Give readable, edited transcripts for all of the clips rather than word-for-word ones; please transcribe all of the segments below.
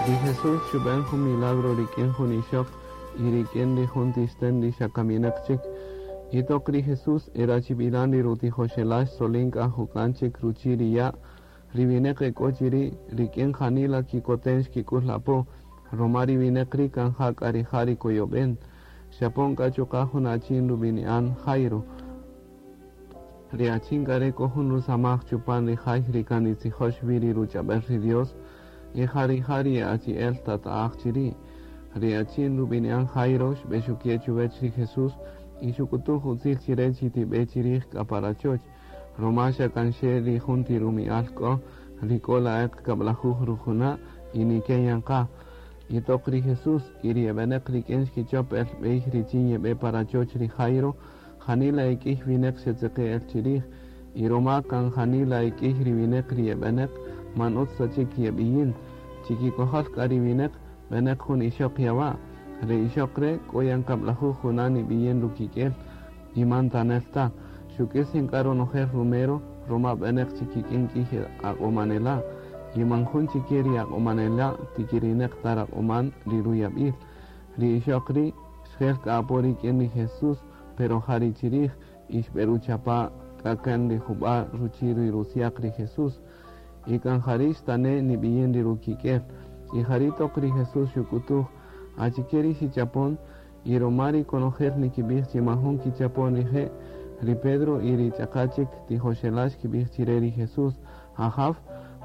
Ri Jesús xub'än jun milagro rik'in jun ixöq y rik'in ri jun ti xtën ri xa kaminäq chik. Y toq ri Jesús e rachib'ilan ri rutijoxela' xtzolin k'a juk'an chik ruchi' ri ya', ri winäq e k'o chi ri' rik'in janila kikoten xkik'ül apo, ruma ri winäq ri' kan ja k'a rija' ri koyob'en. Xapon k'a chuqa' jun achin rub'ini'an Jairo. Ri achin k'a re' k'o jun rusamaj chupan ri jay ri kan nitzijöx wi ri ruch'ab'äl ri Dios, y ja rija' ri achi'el tata'aj chi ri'. Ri achin rub'ini'an Jairo xb'exuke' chuwäch ri Jesús y xuk'utuj utzil chi re chi tib'e chi rij k'a pa rachoch, ruma xa kan xe ri jun ti rumi'al k'o, ri k'o la'eq kab'lajuj rujuna' y niken yan qa. Y toq ri Jesús y ri e b'enäq rik'in xkichöp el b'ey richin yeb'e pa rachoch ri Jairo, janila e k'ïy winäq xetzeqe' el chi rij, y ruma kan janila e k'ïy ri winäq ri e b'enäq, man ütz ta chik yeb'iyin. Chi kikojol k'a ri winäq, b'enäq jun ixöq yawa'. Re ixöq re' k'o yan kab'lajuj juna' nib'iyin rukik'el y man tanel ta. Xuk'ïs yan k'a ronojel rumero ruma b'enäq chi kik'in k'ïy aq'omanela', y man jun chi ke ri aq'omanela' tikirinäq ta raq'oman ri ruyab'il. Ri ixöq ri' xjel k'a apo rik'in ri Jesús, pero ja ri chi rij, y xb'eruchapa' k'a kan ri jub'a' ruchi' ri rutzyaq ri Jesús. Y kan jari' xtane' nib'iyin ri rukik'el. Y jari' toq ri Jesús xuk'utuj, Achike ri xichapon? Y ruma ri konojel nikib'ij chi majun kichapon rije', ri Pedro y ri ch'aqa' chik tijoxela' xkib'ij chi re ri Jesús, Ajaw,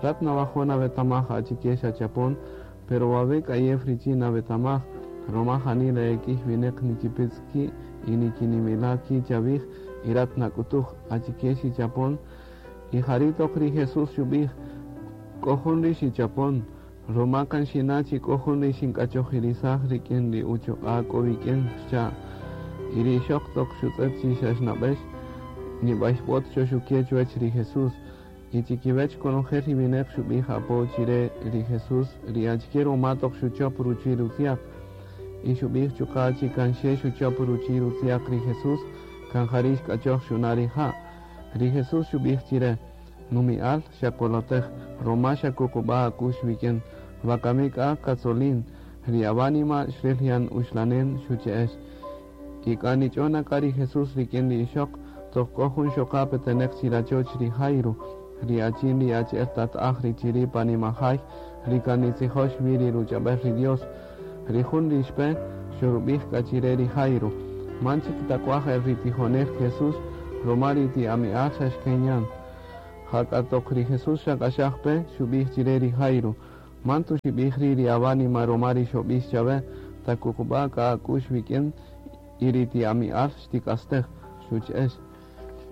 rat nawajo' nawetamaj achike xachapon, pero wawe' k'ayew richin nawetamaj, ruma janila e k'ïy winäq nikipïtz' ki' y nikinimila' ki' chawij y rat nak'utuj, Achike xichapon? Y jari' toq ri Jesús xub'ij, K'o jun ri xichapon, ruma kan xina' chi k'o jun ri xink'achojirisaj rik'in ri uchuq'a' k'o wik'in, xcha'. Y ri ixöq toq xutz'ët chi xa xnab'ëx, nib'ayb'ot xoxuke' chuwäch ri Jesús. Y chi kiwäch konojel ri winäq xub'ij apo chi re ri Jesús ri achike ruma toq xuchöp ruchi' rutzyaq. Y xub'ij chuqa' chi kan xe xuchöp ruchi' rutzyaq ri Jesús, kan jari' xk'achöj xuna' rija'. Ri Jesús xub'ij chi re, Numi'al, xakolotej, roma xakuqub'a' ak'u'x wik'in. Wakami k'a katzolin, ri awánima xril yan uxlanen, xuche'ex. Y k'a nich'on na k'a ri Jesús rik'in ri ixöq, toq k'o jun xoqa' peteneq chi rachoch ri Jairo, ri achin ri achi'el tata'aj ri chiri' pa nimajay ri kan nitzijox wi ri ruch'ab'äl ri Dios. Ri jun ri xpe, xorub'ij k'a chi re ri Jairo, Man chik tak'waj el ri tijonel Jesús, ruma ri ti ami'al xa xken yan. Jak'a toq ri Jesús xak'axaj pe, xub'ij chi re ri Jairo, Man tuxib'ij ri' ri awánima ruma ri xob'ix chawe, takuqub'a' k'a ak'u'x wik'in y ri ti ami'al xtik'astej, xuch'ex.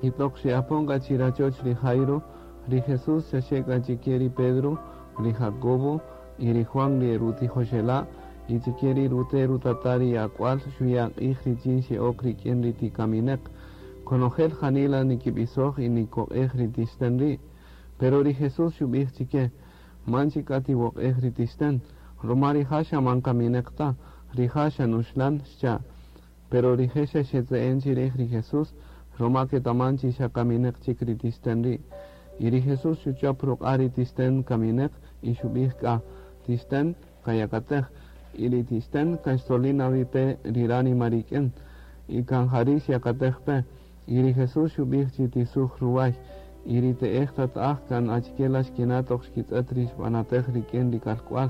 Y toq xe'apon k'a chi rachoch ri Jairo, ri Jesús xaxe k'a chi ke ri Pedro, ri Jacobo y ri Juan ri e rutijoxela', y chi ke ri rute' rutata' ri ak'wal xuya' q'ij richin xe'ok rik'in ri ti kamineq. Konojel janila nikib'isoj y nikoq'ej ri ti xtän ri'. Pero ri Jesús xub'ij chi ke, Man chik k'a tiwoq'ej ri ti xtän, ruma rija' xa man kamineq ta, rija' xa nuxlan, xcha'. Pero rije' xa xetze'en chirij ri Jesús, roma ketaman chi xa kamineq chik ri ti xten ri'. Y ri Jesús xuchop ruq'a' ri ti xten kamineq y xub'ij k'a, Ti xten, kayakatej. Y ri ti xten kan xtzolin na wi pe ri ránima rik'in, y kan jari' xyakatej pe. Y ri Jesús xub'ij chi tisuj ruway. Y ri te'ej tata'aj kan achike la xkina' toq xkitz'ët ri xb'anatej rik'in ri kalk'wal.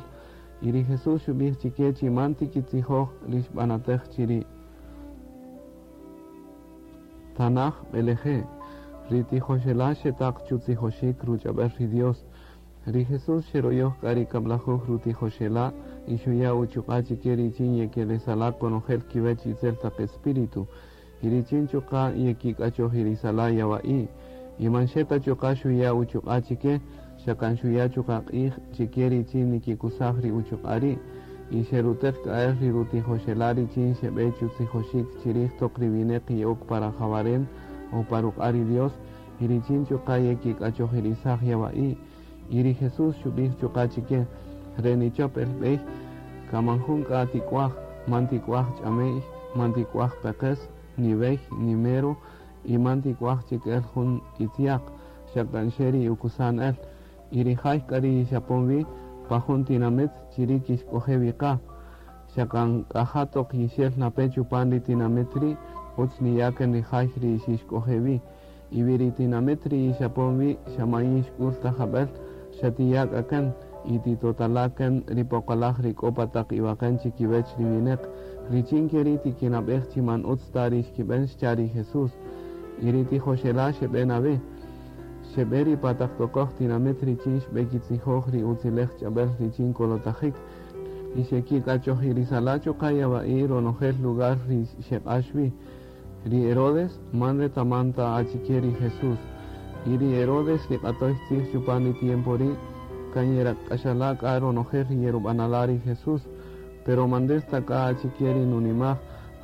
Y ri Jesús xub'ij chike chi man tikitzijoj ri xb'anatej chiri'. Tanaj b'eleje'. Ri tijoxela' xetaq chutzijoxik ruch'ab'äl ri Dios. Ri Jesús xeroyoj k'a ri kab'lajuj rutijoxela' y xuya' uchuq'a' chike richin yekelesala' konojel kiwech itzel taq espíritu, y richin chuqa' yekik'achojirisala' yawa'i'. Y man xe ta chuqa' xuya' uchuq'a' chike, xa kan xuya' chuqa' q'ij chike richin nikikusaj ri uchuq'a' ri'. Y xeruteq k'a el ri rutijoxela' richin xebe chutzijoxik chirij toq ri wineq ye'ok pa rajawaren o pa ruq'a' ri Dios, y richin chuqa' yekik'achojirisaj yawa'i'. Y ri Jesús xubij chuqa' chike, Re nichop el bey, kan man jun k'a tik'uaj, man tik'uaj ch'ame'y, man tik'uaj peqes, ni wey, ni mero, y man tik'uaj chik el jun itziaq, xa kan xe ri ukusan-el. Y ri jay k'a ri yixapon-wi, Pa jun tinamit chiri' kixk'oje' wi qa. Xa kan k'a ja toq yixel na pe chupan ri tinamit ri', utz niya' kan ri jay ri xixk'oje' wi. Y wi ri tinamit ri yixapon wi xa man yixk'ul ta jab'el, xa tiya' k'a kan y titotala' kan ri poqolaj ri k'o pa taq iwaqen chikiwech ri wineq, richin keri' tikinab'ej chi man utz ta ri xkib'en, xcha' ri Jesús. Y ri tijoxela' xeb'e na wi. Xeb'e ri pa taq kokoj tinamit richin xb'ekitzijoj ri utzilej ch'ab'el richin kolotajik. Y xekik'achojirisala' chuqa' yawa'i' ronojel lugar ri xeq'ax wi. Ri Herodes man retaman ta achike ri Jesús. Y ri Herodes ri q'atoy tzij chupan ri tiempo ri' kan yerak'axala' k'a ronojel ri yerub'anala' ri Jesús. Pero man nril ta k'a achike ri nunimaj,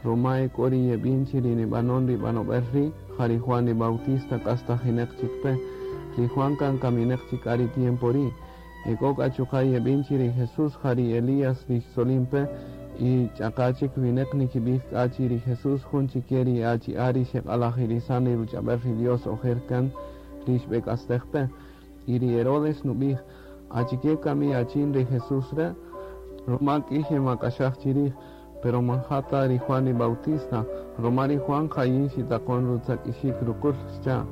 ruma e k'o ri yeb'in chi ri nib'anon ri b'anob'el ri' ja ri Juan ri Bautista k'astajineq chik pe. Ri Juan kan kamineq chik k'a ri tiempo ri'. E k'o k'a chuqa' yeb'in chi ri Jesús ja ri Elías ri xtzolin pe, y ch'aqa chik wineq nikib'ij k'a chi ri Jesús jun chike ri achi'a' ri xeq'alajirisan ri ruch'ab'el ri Dios ojer kan ri xb'ek'astej pe. Y ri Herodes nub'ij, Achike kami achin ri Jesús re'? Ruma k'iy xemak'axaj chirij, pero man ja ta ri Juan ri Bautista, ruma ri Juan ja yin xitaqon rutzak'ixik ruqul, xcha'.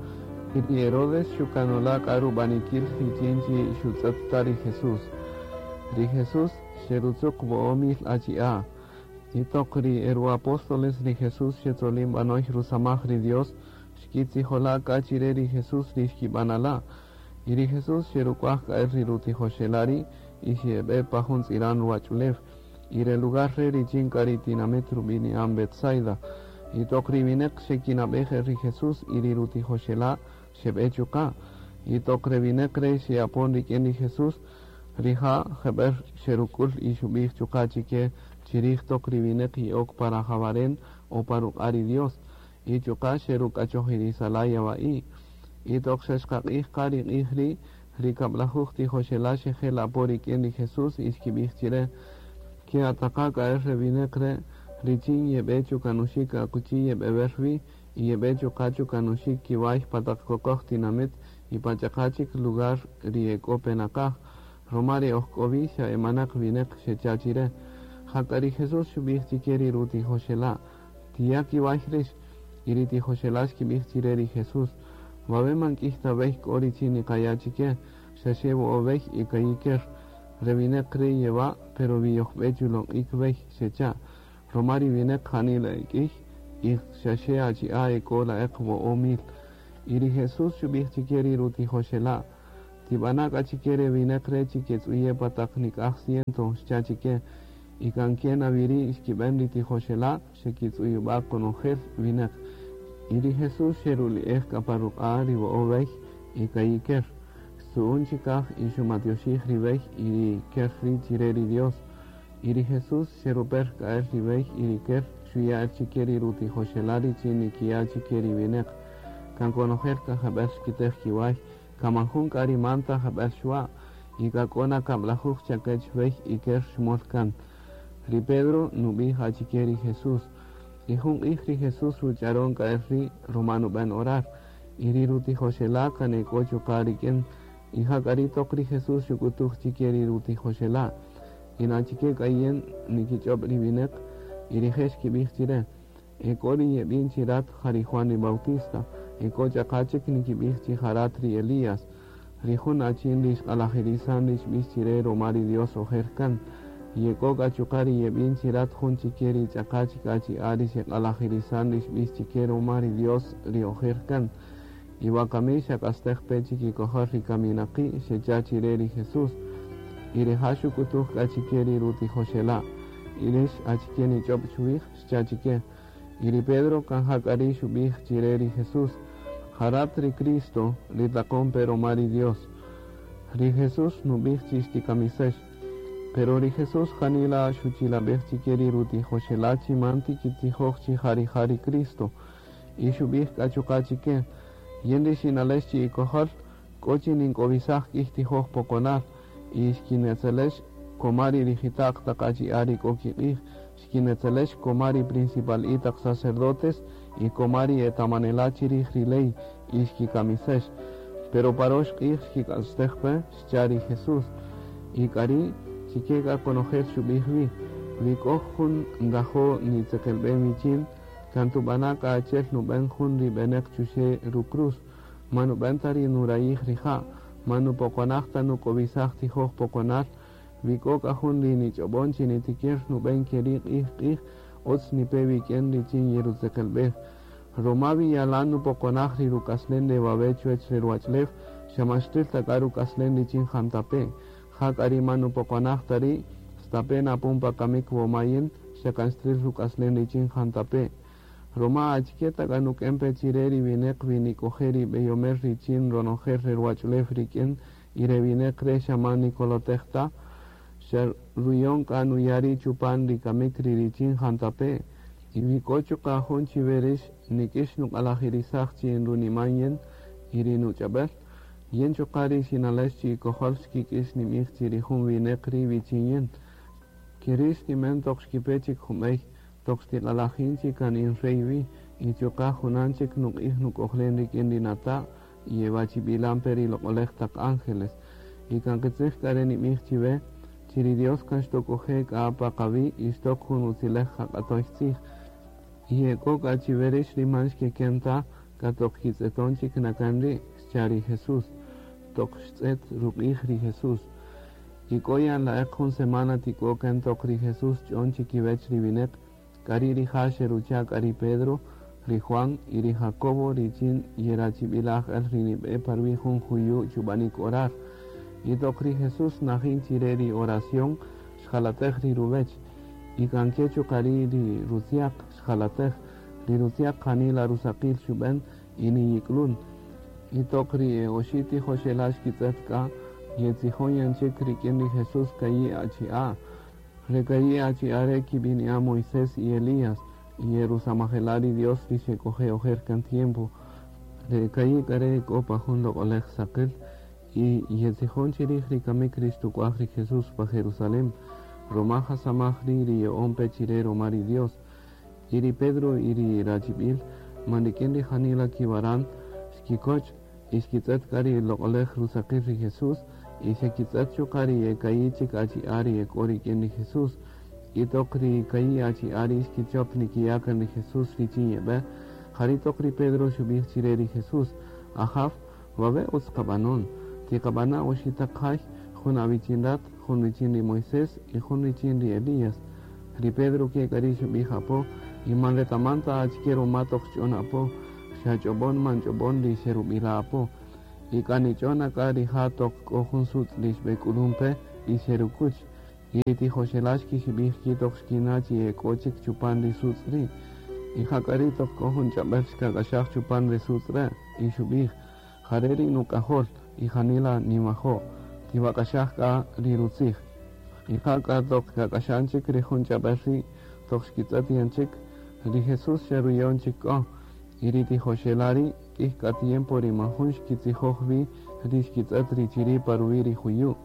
Y ri Herodes xukanola' k'a rub'anikil richin chi xutz'ët ta ri Jesús. Ri Jesús xerutzuq 5000 achi'a'. Y toq ri e ru-apóstoles ri Jesús xetzolin b'anoy rusamaj ri Dios, xkitzijola' k'a chire ri Jesús ri xkib'anala'. Y ri Jesús xeruk'uaj k'a el ri rutijoxela' ri' y xeb'e pa jun tz'iran ruwach'ulew. Y re lugar re' richin k'a ri tinamit rub'ini'an Betsaida. Y toq ri wineq xekinab'ej el ri Jesús y ri rutijoxela' xeb'e chuqa'. Y toq re wineq re' xe'apon rik'in ri Jesús, rija' jeb'ël xeruk'ul y xub'ij chuqa' chike chirij toq ri wineq ye'ok pa rajawaren o pa ruq'a' ri Dios. Y chuqa' xeruk'achojirisala' yawa'i'. Y toq xa xqaq'ij qa ri q'ij ri', ri 10 tijoxela' xejel apo rik'in ri Jesús y xkib'ij chire, Ke'ataqa' k'a el re wineq re' richin yeb'e chukanuxik akuchi yeb'ewer wi y yeb'e chuqa' chukanuxik kiway pa taq kokoj tinamit y pa ch'aqa' chik lugar ri e k'o pe naqaj, ruma ri oj k'o wi xa e manaq wineq, xecha' chire. Jak'a ri Jesús xub'ij chike ri rutijoxela', Tiya' kiway rix. Y ri tijoxela' xkib'ij chire ri Jesús, Wawe' man k'iy ta b'ey k'o richin niqaya' chike, xa xe wo'o' b'ey y ka'i' ker. Re wineq ri' yewa', pero wi yojb'e chuloq'ik b'ey, xecha'. Ruma ri wineq janila e k'iy y xa xe achi'a' e k'o la'eq 5000. Y ri Jesús xub'ij chike ri rutijoxela', Tib'ana' k'a chike re wineq re' chi ketz'uye' pa taq nik'aj ciento, xcha' chike. Y kan ke na wi ri' xkib'en ri tijoxela', xekitz'uyub'a' konojel wineq. Y ri Jesús xeruli'ej k'a pa ruq'a' ri wo'o' b'ey y ka'i' ker. Xtzu'un chikaj y xumatyoxij ri b'ey y ri ker ri' chire ri Dios. Y ri Jesús xeruper k'a el ri b'ey y ri ker xuya' el chike ri rutijoxela' richin nikiya' chike ri wineq. Kan konojel k'a jeb'el xkitej kiway, kan man jun k'a ri man ta jeb'el xwa', y k'a k'o na 10 chakech b'ey y ker xmol kan. Ri Pedro nub'ij achike ri Jesús. Y jun q'ij ri Jesús ruch'aron k'a el ri' ruma nub'en orar. Y ri rutijoxela' kan e k'o chuqa' rik'in. Y jak'a ri' toq ri Jesús xuk'utuj chike ri rutijoxela', Y achike k'a yin nikich'ob' ri wineq? Y rije' xkib'ij chire, E k'o ri yeb'in chi rat ja ri Juan ri Bautista, e k'o ch'aqa chik nikib'ij chi ja rat ri Elías, ri jun achin ri xq'alajirisan ri xb'ix chire ruma ri Dios ojer kan. Y e k'o k'a chuqa' ri yeb'in chi rat jun chike ri ch'aqa chik achi'a' ri xeq'alajirisan ri xb'ix chike ruma ri Dios ri ojer kan. Y wakami xak'astej pe chikikojol ri kaminaqi', xecha' chire ri Jesús. Y rija' xuk'utuj k'a chike ri rutijoxela', Y rix achike nich'ob' chuwij? Xcha' chike. Y ri Pedro kan jak'a ri' xub'ij chire ri Jesús, Ja rat ri Cristo, ri taqon pe ruma ri Dios. Ri Jesús nub'ij chi xtikamisex. Pero ri Jesús janila xuchilab'ej chike ri rutijoxela' chi man tikitzijoj chi ja rija' ri Cristo. Y xub'ij k'a chuqa' chike, Yin ri xinalex chi ikojol, k'o chi nink'owisaj k'iy tijoj poqonal, y xkinetzelex koma ri rijita'q taq achi'a' ri k'o kiq'ij, xkinetzelex koma ri principal'i taq sacerdotes y koma ri etamanela' chirij ri ley, y xkikamisex. Pero pa rox q'ij xkik'astej pe, xcha' ri Jesús. Y k'ari' chike k'a konojel xub'ij wi, wi k'o jun nrajo' nitzeqelb'en wichin, kan tub'ana' k'a achi'el nub'en jun ri b'enäq chuxe' rucruz, man nub'en ta ri nurayij rija', man nupoqonaj ta nuk'owisaj tijoj poqonal, wi k'o k'a jun ri nich'ob'on chi nitikir nub'en ke ri' q'ij q'ij, utz nipe wik'in richin yerutzeqelb'ej. Ruma wi yalan nupoqonaj ri ruk'aslen re wawe' chuwäch re ruwach'ulew, xa man xtril ta k'a ruk'aslen richin jantape'. Ja k'a ri man nupoqonaj ta ri', stape' napon pa kamik woma yin, xa kan xtril ruk'aslen richin jantape'. Ruma achike ta k'a nuk'en pe chi re ri winäq wi nik'oje' ri b'eyomel richin ronojel re ruwach'ulew rik'in y re winäq re' xa man nikolotej ta, xa ruyon k'a nuya' ri' chupan ri kamik ri richin jantape'. Y wi k'o chuqa' jun chiwe rïx nik'ïx nuq'alajirisaj chi runiman yin y ri nuch'ab'äl, yin chuqa' ri xinalex chi ikojol xkik'ïx ninb'ij chi ri jun winäq ri' wichin yin. Ke ri' xtinb'en toq xkipe chik jun b'ey, toq xtiq'alajin chi kan in rey wi, y chuqa' junan chik nuq'ij nuk'ojlen rik'in ri nata' y ewachib'ilan pe ri loq'olej taq ángeles. Y kan qitzij k'a re ninb'ij chiwe, chi ri Dios kan xtok'oje' k'a pa qawi' y xtok jun utziläj qaq'atoy tzij. Y e k'o k'a chiwe rïx ri man xkeken ta, k'a toq kitz'eton chik nakan ri', xcha' ri Jesús. Toq xtz'et ruq'ij ri Jesús. Y k'o yan la'eq jun semana tik'o kan toq ri Jesús xch'on chikiwech ri winäq, k'a ri' rija' xerucha' k'a ri Pedro, ri Juan y ri Jacobo richin yerachib'ilaj el ri nib'e pa ruwi' jun juyu' chub'anik orar. Y toq ri Jesús najin chi re ri oración, xjalatej ri ruwech. Y kan ke chuqa' ri' ri rutzyaq xjalatej, ri rutzyaq janila rusaqil xub'en y niyik'lun. Y toq ri e oxi' tijoxela' xkitz'ët k'a, yetzijon yan chik rik'in ri Jesús ka'i' achi'a'. Re ka'i' achi'a' re' kib'ini'an Moisés y Elías, y erusamajela' ri Dios ri xek'oje' ojer kan tiempo. Re ka'i' k'a re' k'o pa jun loq'olej saqil y yetzijon chirij ri kamik ri xtuk'waj ri Jesús pa Jerusalén, ruma jasamaj ri' ri ya'on pe chire ruma ri Dios. Y ri Pedro y ri rachib'il man rik'in ri janila kiwaran xkikoch' y xkitz'ët k'a ri loq'olej rusaqil ri Jesús, y xekitz'ët chuqa' ri e ka'i' chik achi'a' ri e k'o rik'in ri Jesús. Y toq ri ka'i' achi'a' ri' xkichop nikiya' kan ri Jesús richin yeb'e, jari' toq ri Pedro xub'ij chire ri Jesús, Ajaw, wawe' utz qab'anon, tiqab'ana' oxi' taq jay, jun awichin rat, jun richin ri Moisés y jun richin ri Elías. Ri Pedro ke k'a ri' xub'ij apo, y man retaman ta achike ruma toq xch'on apo, xa ch'ob'on man ch'ob'on ri xerub'ila' apo. Y k'a nich'on na k'a rija' toq k'o jun sutz' ri xb'ek'ulun pe y xerukuch. Y ri tijoxela' xkixib'ij ki' toq xkina' chi e k'o chik chupan ri sutz' ri'. Y ja k'a ri' toq k'o jun ch'ab'äl xkak'axaj chupan re sutz' re', y xub'ij, Ja re' ri nuk'ajol, y janila ninwajo', tiwak'axaj k'a ri rutzij. Y ja k'a toq kak'axan chik ri jun ch'ab'äl ri', toq xkitz'ët yan chik, ri Jesús xa ruyon chik k'o. Y ri tijoxela' ri' k'ïy k'a tiempo ri man jun xkitzijoj wi ri xkitz'ët ri chiri' pa ruwi' ri juyu'.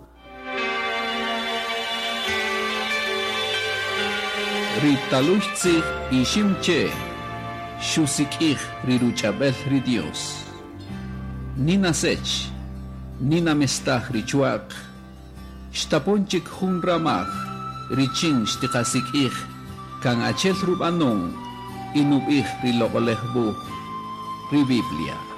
Ri talüy tzij Iximche xusik'ij ri ruch'ab'äl ri Dios. Nina Sech, Nina mestaj ri chwa'q, xtapon chik jun ramaj richin xtiqasik'ij kan achi'el rub'anon y nub'ij ri Loq'oläj Wuj, ri Biblia.